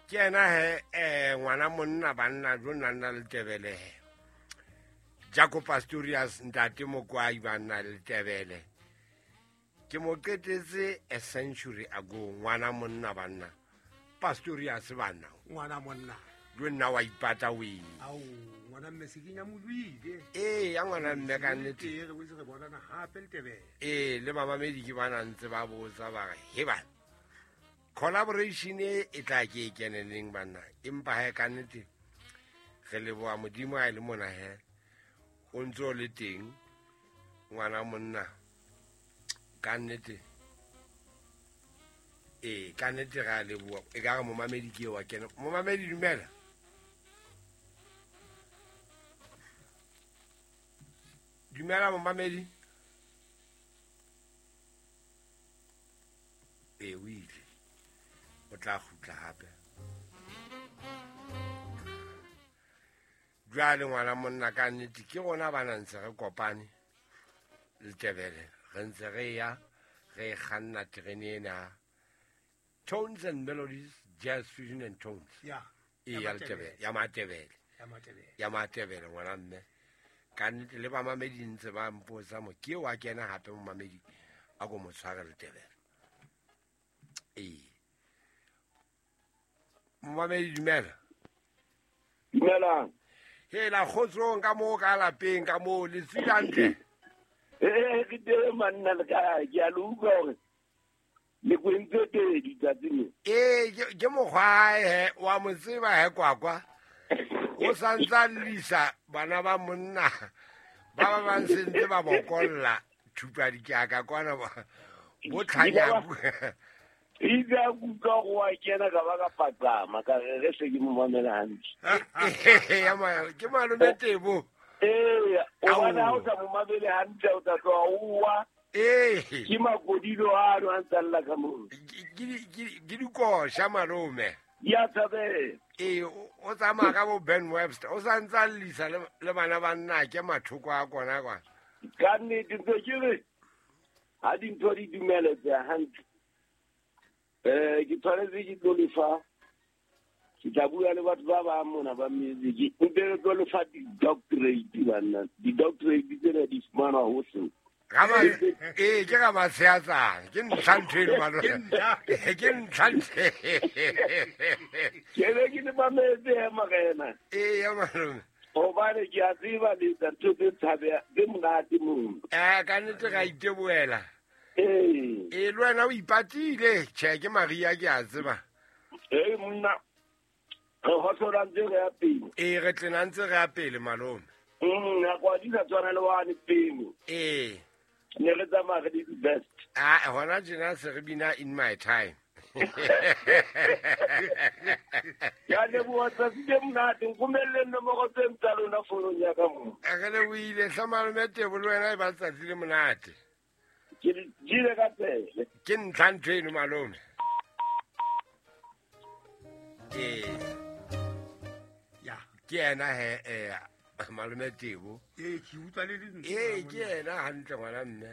Ke ena he ngwana monna banna jo nna nna Letebele he. Jaco Pastorius ntate Mokwai banna Letebele. Ke mo qetetse a century ago ngwana monna banna. Pastorius banna. Ngwana monna. Jo nna wa ipata weng. Ao ngwana mme se kenya moduile. Ee ya ngwana mme ka nnete. Ee re boetse re bonana hape Letebele. Ee le mamamedi ke bana ntse ba botsa ba re he bana. Collaboration e tla ke e keneneng banna empa ha e ka nnete re leboha Modimo ha e le mona he o ntse o le teng ngwana monna ka nnete ee ka nnete re a leboha e ka re momamedi ke wa kena momamedi dumela dumela momamedi ee o ile o tla kgutla hape jwale ngwana monna ka nnete ke rona ba na ntse re kopane Letebele re ntse re ya re kganna terene ena Tones and Melodies Jazz Fusion and Tones ya e ya Letebele ya Matebele ya Matebele ngwana mme ka nnete le bamamedi ntse ba mpotsa mo ke wa kena hape momamedi a ko mo tshware Letebele ee momamedi dumela dumelang hela kgotsong ka moo ka lapeng ka moo le tswile hantle ee ke teng manna le kae ke a le utlwa hore le kwentse pedi tsatsi le ee ke mokgwae he wa mo tseba he kwakwa o santsa lisa bana ba monna ba ba bang sentse ba bokolla thupa dikaka kwana bo tlhanyaku itse a kutlwa go wa kena ka ba ka paqama ka re re se ke mo mamela hantle ke malome Tebo ee o bona ha o sa mo mamele hantle o tla tloha o wa ee ke makodilo ano a ntsa lla ka moo ke dikosha malome ya tshabela ee o tsamaya ka bo Ben Webster o sa ntsa llisa le bana ba nna ke mathoko a kona kwana ka nnete ntse ke re ha dintho di dumeletse hantle ke tshwanetse ke tlo lefa ke tla bua le batho ba bang mona ba music nte re tlo lefa di-doctorate banna di-doctorate tsena di fumanwa hohle ee ke ga matsheatsang ke ntlha ntho eno malome ke ntlha ntho ke be ke le mametse he morena ee ya malome hobane ke a tseba le etsa ntho tse tshabeha tse monate moo ka nnete ra itebohela ee ee le wena o ipatile tjhe ke Maria ke a tseba ee monna re hohlola ntse re ya pele ee re tlena ntse re ya pele malome nako a di sa tshwana le wane pele ee ne re tsamaya re le di-best a hona tjena se re bina in my time ya leboha tsatsi le monate nkomelleng nomoro tse tsa lona founong ya ka moo re lebohile hle malome Tebo le wena e ba tsatsi le monate ke jile ka tsele ke ntlha ntho eno malome ee ya ke ena he malome Tebo ee ke utlwa le lentswe ee ke ena hantle ngwana mme